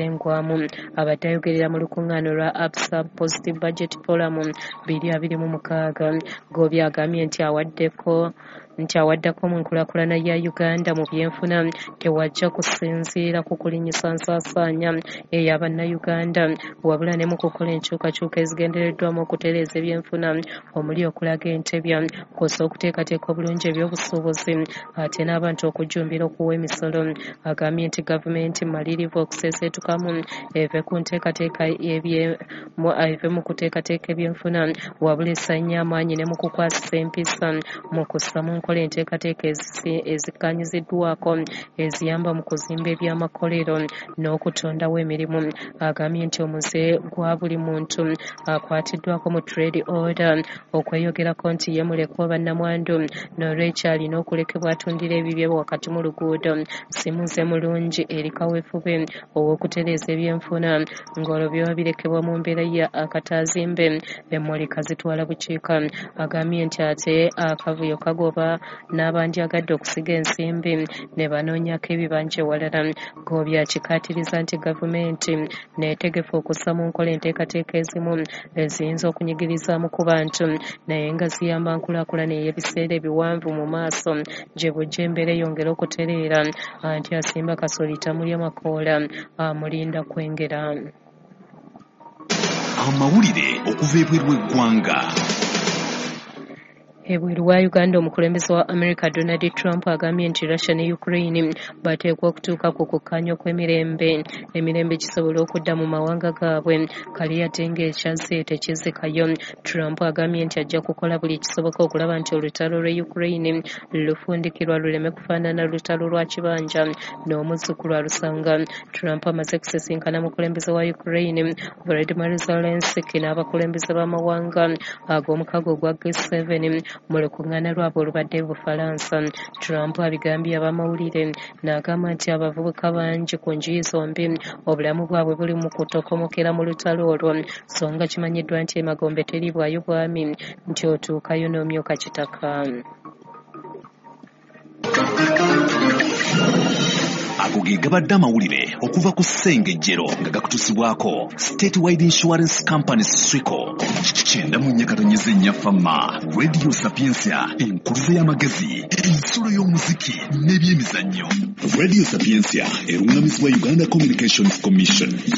okusengwamu. Abadde ayogerera mu lukuŋŋaana olwa Absa Positive Budget Forum 2026. Ggoobi agambye nti awaddako mu nkulaakulana ya Uganda mu byenfuna tewajja kusinziira ku kulinnyisa nsaasaanya eya Bannayuganda, wabula ne mu kukola enkyukakyuka ezigendereddwamu okutereeza ebyenfuna omuli okulaga entebya kw'ossa okuteekateeka obulungi ebyobusuubuzi ate n'abantu okujjumbira okuwa emisolo. Agambye nti gavumenti mmalirivu okuseeseetukamu eve ku nteekateeka eve mu kuteekateeka ebyenfuna, wabula essa nnyo amaanyi ne mu kukwasisa empisa mu kussa mu nkola enteekateeka ezikkaanyiziddwako eziyamba mu kuzimba ebyamakolero n'okutondawo emirimu. Agambye nti omuze gwa buli muntu akwatiddwako mu trade order okweyogerako nti ye mulekwa oba nnamwandu, n'olwekyo alina okulekebwa atundira ebibye wakati mu luguudo si muze mulungi eri kaweefube ow'okutereeza ebyenfuna, ng'olwo biba birekebwa mu mbeera ya akataazimbe emmoleka zitwala bukiika. Agambye nti ate akavuyo kagoba n'abandyagadde okusiga ensimbi ne banoonyako ebibanja ewalala. Ggoobi akikaatiriza nti gavumenti neetegefu okussa mu nkola enteekateeka ezimu eziyinza okunyigirizaamu ku bantu naye nga ziyamba nkulaakulana ey'ebiseera ebiwanvu mu maaso gye bujja embeera eyongere okutereera. Anti asimba kasooli tamulya makoola, amulinda kwengera. Amawulire okuva ebweru w'eggwanga. Ebweru wa Uganda, omukulembeze wa America Donald Trump agambye nti Russia ne Ukraine bateekwa okutuuka ku kukkaanya okw'emirembe, emirembe gisobole okudda mu mawanga gaabwe, kale yadde ng'ekyazze tekizikayo. Trump agambye nti ajja kukola buli kisoboka okulaba nti olutalo lw'e Ukraine lufundikirwa luleme kufaanana lutalo lwa kibanja n'omuzzukulu alusanga. Trump amaze kusisinkana mukulembeze wa Ukraine Volodymyr Zelensky n'abakulembeze b'amawanga ag'omukago ogwa G7 mu lukuŋŋaana lwabwe olubadde e Bufalansa. Trump abigambye abamawulire n'agamba nti abavubuka bangi ku njuyi zombi obulamu bwabwe buli mu kutokomokera mu lutalo olwo, so nga kimanyiddwa nti emagombe teriibwayo bwami nti otuukayo n'omyuka kitaka. Ago ge gabadde amawulire okuva ku Ssengejjero nga gakutuusibwako Statewide Insurance Company SWICO. 94.4 Fama, Radio Sapientia, enkuluze y'amagezi, ensulo y'omuziki n'ebyemizannyo. Radio Sapientia eruŋŋamizibwa Uganda Communications Commission.